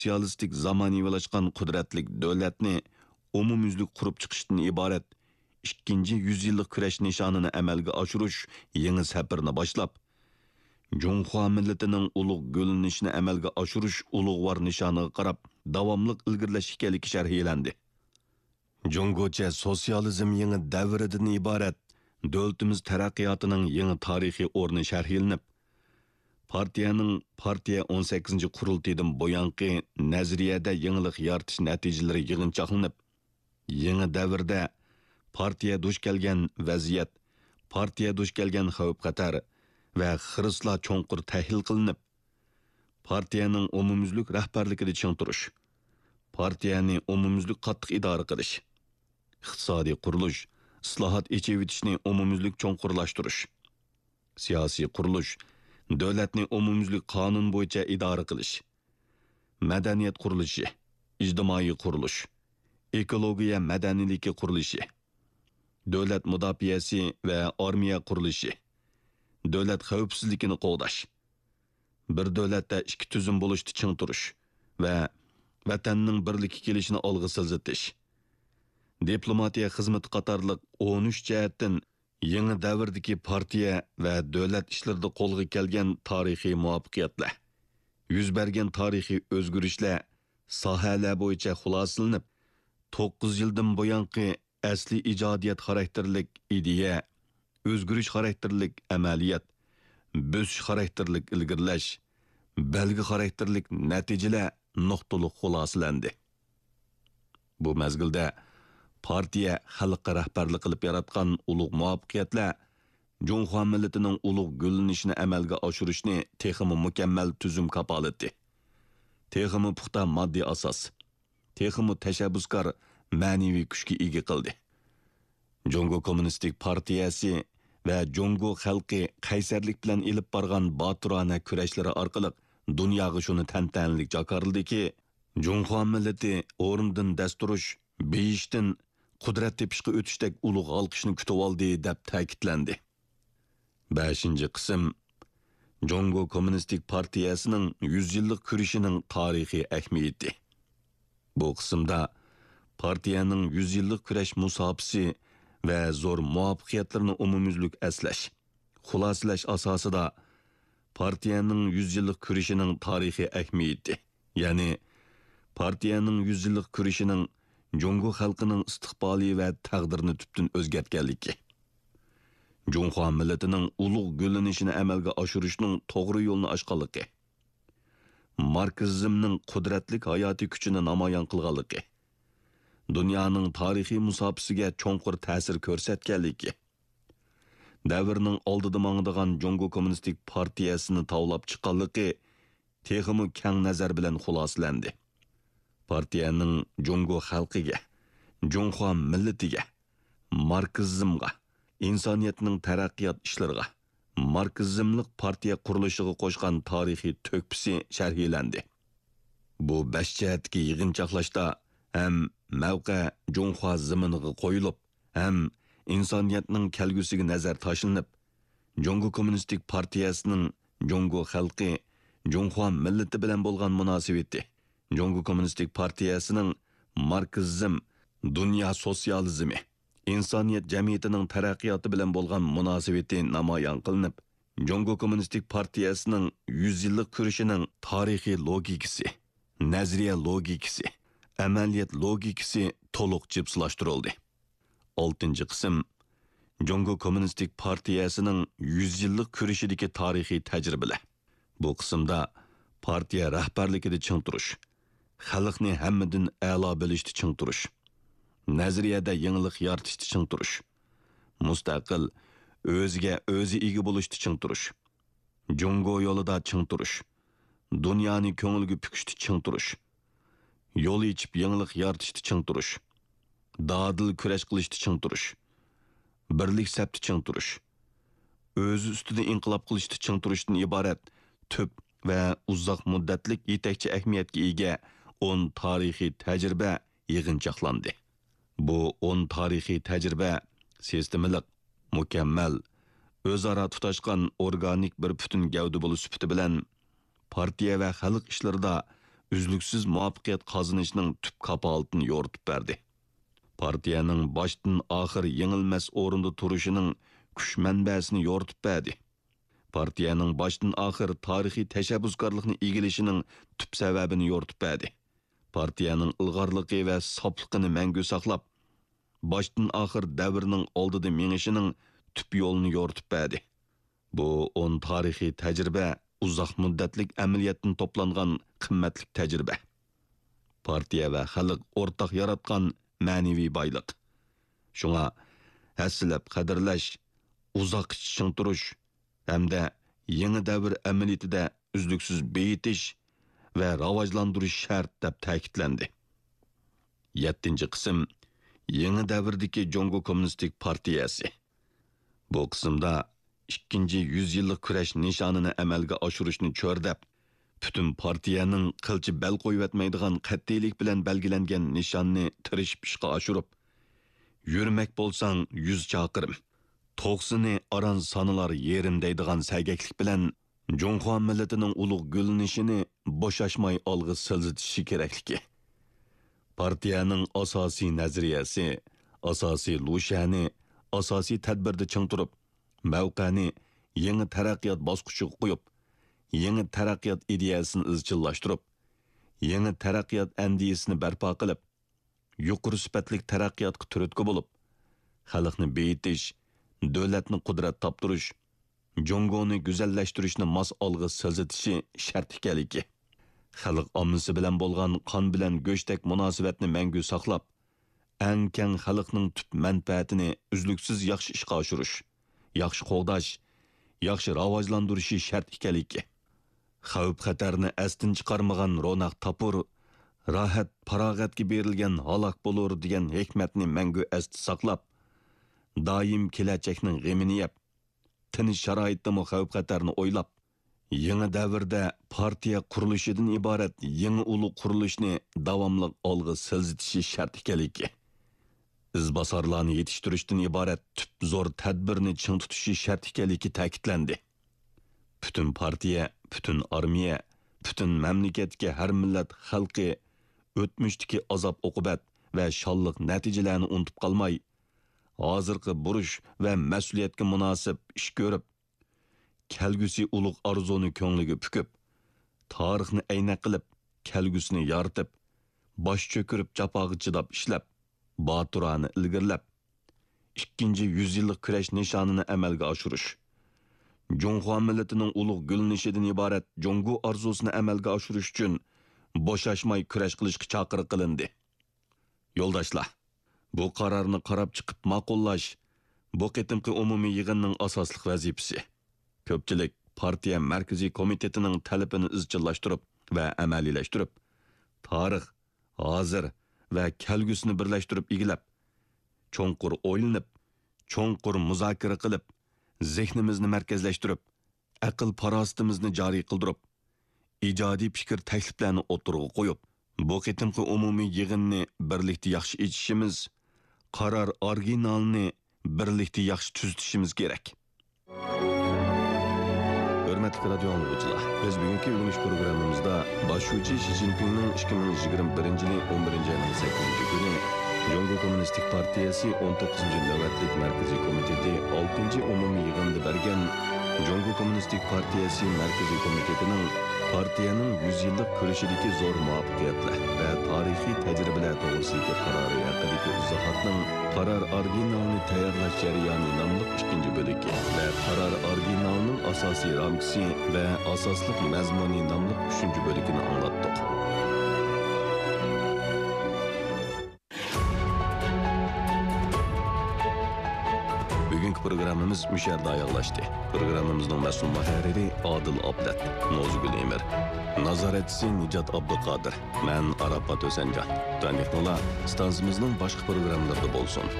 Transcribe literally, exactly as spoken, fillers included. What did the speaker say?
سوتسىيالىستىك زامانىۋىلاشقان قۇدرەتلىك دۆلەتنى ئومۇميۈزلۈك قۇرۇپ چىقىشتىن ئىبارەت ئىككىنچى يۈز يىللىق كۈرەش نىشانىنى ئەمەلگە ئاشۇرۇش يېڭى سەپىرىنى باشلاپ، جۇڭخۇا مىللىتىنىڭ ئۇلۇغ گۈللىنىشىنى ئەمەلگە ئاشۇرۇش ئۇلۇغۋار نىشانىغا قاراپ داۋاملىق ئىلگىرىلەش ئىكەنلىكى شەرھلەندى. جۇڭگوچە سوتسىيالىزم يېڭى دەۋرىدىن ئىبارەت دۆلىتىمىز تەرەققىياتىنىڭ يېڭى تارىخىي ئورنى شەرھلىنىپ، پارتىيەنىڭ پارتىيە ئون سەككىزىنچى قۇرۇلتىيىدىن بۇيانقى نەزەرىيەدە يېڭىلىق يارىتىش نەتىجىلىرى يىغىنچاقلىنىپ، يېڭى دەۋردە پارتىيە دۇچ كەلگەن ۋەزىيەت، پارتىيە دۇچ كەلگەن خەۋپ-خەتەر ۋە خىرىسلار چوڭقۇر تەھلىل قىلىنىپ، پارتىيەنىڭ ئومۇميۈزلۈك رەھبەرلىكىدە چىڭ تۇرۇش، پارتىيەنى ئومۇميۈزلۈك قاتتىق ئىدارە قىلىش، ئىقتىسادىي قۇرۇلۇش، ئىسلاھات، ئېچىۋېتىشنى ئومۇميۈزلۈك چوڭقۇرلاشتۇرۇش، سىياسىي قۇرۇلۇش، دۆلەتنى ئومۇميۈزلۈك قانۇن بويىچە ئىدارە قىلىش، مەدەنىيەت قۇرۇلۇشى، ئىجتىمائىي قۇرۇلۇش، ئېكولوگىيە مەدەنىيلىكى قۇرۇلۇشى، دۆلەت مۇداپىئەسى ۋە ئارمىيە قۇرۇلۇشى، دۆلەت خەۋپسىزلىكىنى قوغداش، بىر دۆلەتتە ئىككى تۈزۈم بولۇشتا چىڭ تۇرۇش ۋە ۋەتەننىڭ بىرلىككە كېلىشىنى ئالغا سىلجىتىش، دىپلوماتىيە خىزمىتى قاتارلىق ئون ئۈچ جەھەتتىن يېڭى دەۋردىكى پارتىيە ۋە دۆلەت ئىشلىرىدا قولغا كەلگەن تارىخىي مۇۋەپپەقىيەتلەر، يۈز بەرگەن تارىخىي ئۆزگىرىشلەر ساھەلەر بويىچە خۇلاسىلىنىپ، توققۇز يىلدىن بۇيانقى ئەسلىي ئىجادىيەت خاراكتېرلىك ئىدىيە، ئۆزگىرىش خاراكتېرلىك ئەمەلىيەت، بۆسۈش خاراكتېرلىك ئىلگىرىلەش، بەلگە خاراكتېرلىك نەتىجىلەر نۇقتىلىق خۇلاسىلەندى. بۇ مەزگىلدە پارتىيە خەلققە رەھبەرلىك قىلىپ ياراتقان ئۇلۇغ مۇۋەپپەقىيەتلەر جۇڭخۇا مىللىتىنىڭ ئۇلۇغ گۈللىنىشىنى ئەمەلگە ئاشۇرۇشنى تېخىمۇ مۇكەممەل تۈزۈم كاپالىتى، تېخىمۇ پۇختا ماددىي ئاساس، تېخىمۇ تەشەببۇسكار مەنىۋى كۈچكە ئىگە قىلدى. جۇڭگو كوممۇنىستىك پارتىيەسى ۋە جۇڭگو خەلقى قەيسەرلىك بىلەن ئېلىپ بارغان باتۇرانە كۈرەشلىرى ئارقىلىق دۇنياغا شۇنى تەنتەنىلىك جاكارلىدىكى، جۇڭخۇا مىللىتى ئورنىدىن دەس تۇرۇش، بېيىشتىن قۇدرەت تېپىشقا ئۆتۈشتەك ئۇلۇغ ھالقىشنى كۈتۈۋالدى، دەپ تەكىتلەندى. بەشىنچى قىسىم، جۇڭگو كوممۇنىستىك پارتىيەسىنىڭ يۈز يىللىق كۈرىشىنىڭ تارىخىي ئەھمىيىتى. بۇ قىسىمدا پارتىيەنىڭ يۈز يىللىق كۈرەش مۇساپىسى ۋە زور مۇۋەپپەقىيەتلىرىنى ئومۇميۈزلۈك ئەسلەش، خۇلاسىلەش ئاساسىدا پارتىيەنىڭ يۈز يىللىق كۈرىشىنىڭ تارىخىي ئەھمىيىتى، يەنى پارتىيەنىڭ يۈز يىللىق كۈرىشىنىڭ جۇڭگو خەلقىنىڭ ئىستىقبالى ۋە تەقدىرىنى تۈپتىن ئۆزگەرتكەنلىكى، جۇڭخۇا مىللىتىنىڭ ئۇلۇغ گۈللىنىشىنى ئەمەلگە ئاشۇرۇشنىڭ توغرا يولنى ئاچقانلىقى، ماركسىزمنىڭ قۇدرەتلىك ھاياتىي كۈچىنى نامايان قىلغانلىقى، دۇنيانىڭ تارىخىي مۇساپىسىگە چوڭقۇر تەسىر كۆرسەتكەنلىكى، دەۋرنىڭ ئالدىدا ماڭىدىغان جۇڭگو كوممۇنىستىك پارتىيەسىنى تاۋلاپ چىققانلىقى تېخىمۇ كەڭ نەزەر بىلەن خۇلاسىلەندى. پارتىيەنىڭ جۇڭگو خەلقىگە، جۇڭخۇا مىللىتىگە، ماركسىزمغا، ئىنسانىيەتنىڭ تەرەققىيات ئىشلىرىغا، ماركسىزملىق پارتىيە قۇرۇلۇشىغا قوشقان تارىخىي تۆھپىسى شەرھلەندى. بۇ بەش جەھەتتىكى يىغىنچاقلاشتا ھەم مەۋقە جۇڭخۇا زېمىنىغا قويۇلۇپ، ھەم ئىنسانىيەتنىڭ كەلگۈسىگە نەزەر تاشلىنىپ، جۇڭگو كوممۇنىستىك پارتىيەسىنىڭ جۇڭگو خەلقى، جۇڭخۇا مىللىتى بىلەن بولغان مۇناسىۋىتى، جۇڭگو كوممۇنىستىك پارتىيەسىنىڭ ماركسىزم، دۇنيا سوتسىيالىزمى، ئىنسانىيەت جەمئىيىتىنىڭ تەرەققىياتى بىلەن بولغان مۇناسىۋىتى نامايان قىلىنىپ، جۇڭگو كوممۇنىستىك پارتىيەسىنىڭ يۈز يىللىق كۈرىشىنىڭ تارىخىي لوگىكىسى، نەزەرىيە لوگىكىسى، ئەمەلىيەت لوگىكىسى تولۇق جىپسىلاشتۇرۇلدى. ئالتىنچى قىسىم، جۇڭگو كوممۇنىستىك پارتىيەسىنىڭ يۈز يىللىق كۈرىشىدىكى تارىخىي تەجرىبىلەر. بۇ قىسىمدا پارتىيە رەھبەرلىكىدە چىڭ تۇرۇش، خەلقنى ھەممىدىن ئەلا بىلىشتە چىڭ تۇرۇش، نەزەرىيەدە يېڭىلىق يارىتىشتا چىڭ تۇرۇش، مۇستەقىل، ئۆزىگە ئۆزى ئىگە بولۇشتا چىڭ تۇرۇش، جۇڭگو يولىدا چىڭ تۇرۇش، دۇنيانى كۆڭۈلگە پۈكۈشتە چىڭ تۇرۇش، يول ئېچىپ يېڭىلىق يارىتىشتا چىڭ تۇرۇش، دادىل كۈرەش قىلىشتا چىڭ تۇرۇش، بىرلىك سەپتە چىڭ تۇرۇش، ئۆزى ئۈستىدە ئىنقىلاب قىلىشتا چىڭ تۇرۇشتىن ئىبارەت تۈپ ۋە ئۇزاق مۇددەتلىك يېتەكچى ئەھمىيەتكە ئىگە ئون تارىخىي تەجرىبە يىغىنچاقلاندى. بۇ ئون تارىخىي تەجرىبە سىستېمىلىق، مۇكەممەل، ئۆزئارا تۇتاشقان ئورگانىك بىر پۈتۈن گەۋدە بولۇش سۈپىتى بىلەن، پارتىيە ۋە خەلق ئىشلىرىدا ئۈزلۈكسىز مۇۋەپپەقىيەت قازىنىشنىڭ تۈپ كاپالىتىنى يورۇتۇپ بەردى. پارتىيەنىڭ باشتىن ئاخىر يېڭىلمەس ئورۇندا تۇرۇشىنىڭ كۈچ مەنبەسىنى يورۇتۇپ بەردى. پارتىيەنىڭ باشتىن ئاخىر تارىخىي تەشەببۇسكارلىقنى ئىگىلىشىنىڭ تۈپ سەۋەبىنى يورۇتۇپ بەردى. پارتىيەنىڭ ئىلغارلىقى ۋە ساپلىقىنى مەڭگۈ ساقلاپ، باشتىن ئاخىر دەۋرنىڭ ئالدىدا مېڭىشىنىڭ تۈپ يولىنى يورۇتۇپ بەردى. بۇ ئون تارىخىي تەجرىبە ئۇزاق مۇددەتلىك ئەمەلىيەتتىن توپلانغان قىممەتلىك تەجرىبە. پارتىيە ۋە خەلق ئورتاق ياراتقان مەنىۋى بايلىق. شۇڭا ھەسسىلەپ قەدىرلەش، ئۇزاققىچە چىڭ تۇرۇش ھەمدە يېڭى دەۋر ئەمەلىيىتىدە ئۈزلۈكسىز بېيىتىش ۋە راۋاجلاندۇرۇش شەرت، دەپ تەكىتلەندى. يەتتىنچى قىسىم، يېڭى دەۋردىكى جۇڭگو كوممۇنىستىك پارتىيەسى. بۇ قىسىمدا ئىككىنچى يۈز يىللىق كۈرەش نىشانىنى ئەمەلگە ئاشۇرۇشنى چۆرىدەپ، پۈتۈن پارتىيەنىڭ قىلچە بەل قويۇۋەتمەيدىغان قەتئىيلىك بىلەن بەلگىلەنگەن نىشاننى تىرىشىپ ئىشقا ئاشۇرۇپ، «يۈرمەك بولساڭ يۈز چاقىرىم، توغسىنى ئاران سانىلار يېرىم» دەيدىغان سەگەكلىك بىلەن جۇڭخۇا مىللىتىنىڭ ئۇلۇغ گۈللىنىشىنى بوشاشماي ئالغا سىلجىتىشى كېرەكلىكى. پارتىيەنىڭ ئاساسىي نەزەرىيەسى، ئاساسىي لۇشيەنى ئاساسىي تەدبىردە چىڭ تۇرۇپ، مەۋقەنى يېڭى تەرەققىيات باسقۇچىغا قويۇپ، يېڭى تەرەققىيات ئىدىيەسىنى ئىزچىللاشتۇرۇپ، يېڭى تەرەققىيات ئەندىزىسىنى بەرپا قىلىپ، يۇقىرى سۈپەتلىك تەرەققىياتقا تۈرتكە بولۇپ، خەلقنى بېيىتىش، دۆلەتنى قۇدرەت تاپتۇرۇش، جۇڭگونى گۈزەللەشتۈرۈشنى ماس ئالغا سىلجىتىشى شەرت ئىكەنلىكى، خەلق ئاممىسى بىلەن بولغان قان بىلەن گۆشتەك مۇناسىۋەتنى مەڭگۈ ساقلاپ، ئەڭ كەڭ خەلقنىڭ تۈپ مەنپەئەتىنى ئۈزلۈكسىز ياخشى ئىشقا ئاشۇرۇش، ياخشى قوغداش، ياخشى راۋاجلاندۇرۇشى شەرت ئىكەنلىكى، خەۋپ-خەتەرنى ئەستىن چىقارمىغان روناق تاپۇر، راھەت-پاراغەتكە بېرىلگەن ھالاك بولۇر دېگەن ھېكمەتنى مەڭگۈ ئەستە ساقلاپ، دائىم كېلەچەكنىڭ غېمىنى يەپ، تىنچ شارائىتتىمۇ خەۋپ-خەتەرنى ئويلاپ، يېڭى دەۋردە پارتىيە قۇرۇلۇشىدىن ئىبارەت يېڭى ئۇلۇغ قۇرۇلۇشنى داۋاملىق ئالغا سىلجىتىشى شەرت ئىكەنلىكى، ئىزباسارلارنى يېتىشتۈرۈشتىن ئىبارەت تۈپ زور تەدبىرنى چىڭ تۇتۇشى شەرت ئىكەنلىكى تەكىتلەندى. پۈتۈن پارتىيە، پۈتۈن ئارمىيە، پۈتۈن مەملىكەتتىكى ھەر مىللەت خەلقى ئۆتمۈشتىكى ئازاب-ئوقۇبەت ۋە شانلىق نەتىجىلەرنى ئۇنتۇپ قالماي، ھازىرقى بۇرچ ۋە مەسئۇلىيەتكە مۇناسىپ ئىش كۆرۈپ، كەلگۈسى ئۇلۇغ ئارزۇنى كۆڭلىگە پۈكۈپ، تارىخنى ئەينەك قىلىپ، كەلگۈسىنى يارىتىپ، باش چۆكۈرۈپ جاپاغا چىداپ ئىشلەپ، باتۇرانە ئىلگىرىلەپ، ئىككىنچى يۈز يىللىق كۈرەش نىشانىنى ئەمەلگە ئاشۇرۇش، جۇڭخۇا مىللىتىنىڭ ئۇلۇغ گۈللىنىشىدىن ئىبارەت جۇڭگو ئارزۇسىنى ئەمەلگە ئاشۇرۇش ئۈچۈن بوشاشماي كۈرەش قىلىشقا چاقىرىق قىلىندى. يولداشلار، بۇ قارارنى قاراپ چىقىپ ماقۇللاش بۇ قېتىمقى ئومۇمىي يىغىننىڭ ئاساسلىق ۋەزىپىسى. كۆپچىلىك پارتىيە مەركىزىي كومىتېتىنىڭ تەلىپىنى ئىزچىللاشتۇرۇپ ۋە ئەمەلىيلەشتۈرۈپ، تارىخ، ھازىر ۋە كەلگۈسىنى بىرلەشتۈرۈپ ئىگىلەپ، چوڭقۇر ئويلىنىپ، چوڭقۇر مۇزاكىرە قىلىپ، زېھنىمىزنى مەركەزلەشتۈرۈپ، ئەقىل-پاراسىتىمىزنى جارى قىلدۇرۇپ، ئىجادىي پىكىر تەكلىپلەرنى ئوتتۇرىغا قويۇپ، بۇ قېتىمقى ئومۇمىي يىغىننى بىرلىكتە ياخشى ئېچىشىمىز، قارار ئورىگىنالىنى بىرلىكتە ياخشى تۈزىتىشىمىز كېرەك. ھۆرمەتلىك رادىيو ئاڭلىغۇچىلار، بىز بۈگۈنكى ئۆگىنىش پروگراممىمىزدا باش شۇجى شى جىنپىڭنىڭ ئىككى مىڭ يىگىرمە بىرىنچى يىلى ئون بىرىنچى ئاينىڭ سەككىزىنچى كۈنى جۇڭگو كوممۇنىستىك پارتىيەسى ئون توققۇزىنچى نۆۋەتلىك مەركىزىي كومىتېتى ئالتىنچى ئومۇمىي يىغىنىدا بەرگەن جۇڭگو كوممۇنىستىك پارتىيەسى مەركىزىي كومىتېتىنىڭ پارتىيەنىڭ يۈز يىللىق كۈرىشىدىكى زور مۇۋەپپەقىيەتلەر ۋە تارىخىي تەجرىبىلەر توغرىسىدىكى قارارى ھەققىدىكى ئىزاھاتنىڭ قارار ئورىگىنالىنى تەييارلاش جەريانى ناملىق ئىككىنچى بۆلىكى ۋە قارار ئورىگىنالىنىڭ ئاساسىي رامكىسى ۋە ئاساسلىق مەزمۇنى ناملىق ئۈچىنچى بۆلىكىنى ئاڭلاتتۇق. بۈگۈنكى پروگراممىمىز مۇشۇ يەردە ئاياغلاشتى. پروگراممىمىزنىڭ مەسئۇل مۇھەررىرى ئادىل ئابلەت، نوزۇگۈل ئېمىر، نازارەتچىسى نىجات ئابدۇقادىر، مەن ئاراپات ھۈسەنجان. تۇتانلىقىڭلار ئىستانسىمىزنىڭ باشقا پروگراممىلىرىدا بولسۇن.